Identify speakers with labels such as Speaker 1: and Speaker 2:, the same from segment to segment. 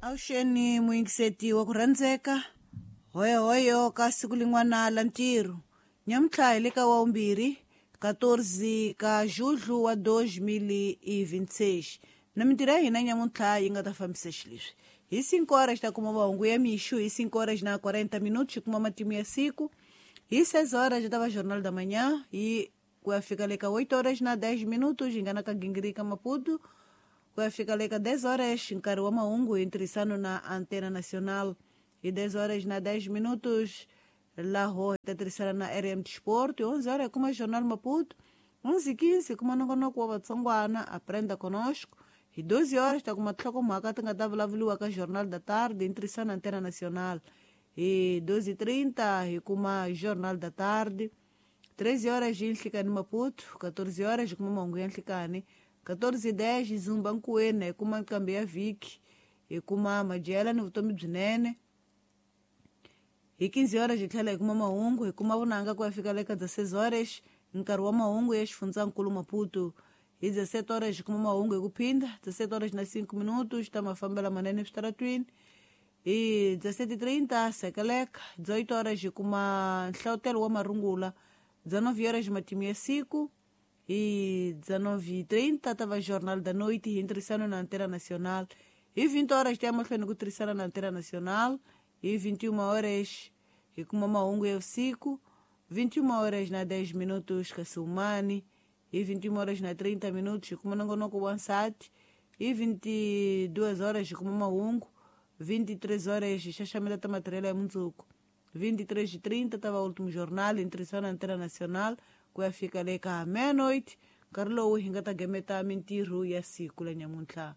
Speaker 1: Avuxeni muyingiseti wa ku rhandzeka, hoyohoyo ka siku lin'wana la ntirho. Nyamuntlha hi le ka wawumbirhi, 14 ka julho wa 2026. Na mintirho ya hina nyamuntlha yi nga ta fambisa xileswi. Hi 5 horas ta kuma mahungu ya mixo, hi 5 horas na 40 minutos kuma matimu ya siku. Hi 6 horas ta va Jornal da Manhã e ku ya fika le ka 8 horas na 10 minutos hi nga na ka Gingirika Maputo. Ku ya fika le ka 10 horas nkarhi wa mahungu hi ntirhisano na Antena Nacional. Hi 10 horas na 10 minutos laho hi ta tirhisana na RM Sport. 11 horas hi kuma Jornal Maputo. 11:15 kuma nongonoko wa Vatsongwana Aprenda Conosco. Hi 12 horas ta kuma tinhlokomhaka ti nga ta vulavuriwa ka Jornal da Tarde hi ntirhisano na Antena Nacional. Hi 12:30 hi kuma Jornal da Tarde. 13 horas hi Nhlikani Maputo. 14 horas hi kuma mahungu ya nhlikani. 14:10 hi Zumba Nkuweni hi kuma nqambi ya vhiki, hi kuma madyela ni vutomi byinene. Hi 15 horas hi tlhela hi kuma mahungu, hi kuma vunanga ku ya fika le ka 16 horas nkarhi wa mahungu ya xifundzankulu Maputo. Hi 17 horas hi kuma mahungu hi ku phinda, 17 horas na 5 minutos ta mafambelo manene eswitaratwini. Hi 17:30 sekeleka, 18 horas hi kuma nhlavutelo wa marungula, 19 horas matimu ya siku. Hi 19:30 ta va Jornal da Noite hi ntirhisano na Antena Nacional. Hi 20 horas ta ya mahlweni ku tirhisana na Antena Nacional. Hi 21 horas hi kuma mahungu ya vusiku. 21 horas na 10 minutos ka Sumani. Hi 21 horas na 30 minutos hi kuma nongonoko wa nsati. Hi 22 horas hi kuma mahungu. 23 horas hi xaxameta ta matirhelo ya mundzuku. 23:30 ta va Último Jornal hi ntirhisano na Antena Nacional ku ya fika le ka meia-noite, nkarhi lowu hi nga ta gemeta mintirho ya siku la nyamuntlha.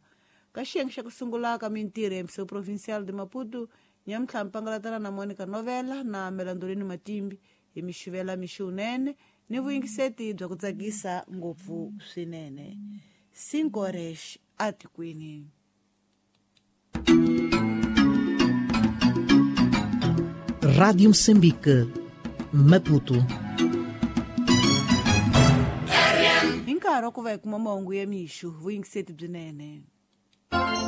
Speaker 1: Ka xiyenge xa ku sungula ka mintirho ya MCO Provincial de Maputo, nyamuntlha mpangalatana na Monica Novela na Melandolini Matimbi hi mixivela mixi wunene ni vuyingiseti bya ku tsakisa ngopfu swinene. 5 horas atikweni.
Speaker 2: Rádio Moçambique, Maputo.
Speaker 1: Hi nkarhi wa ku va hi kuma mahungu ya mixo, vuyingiseti byinene.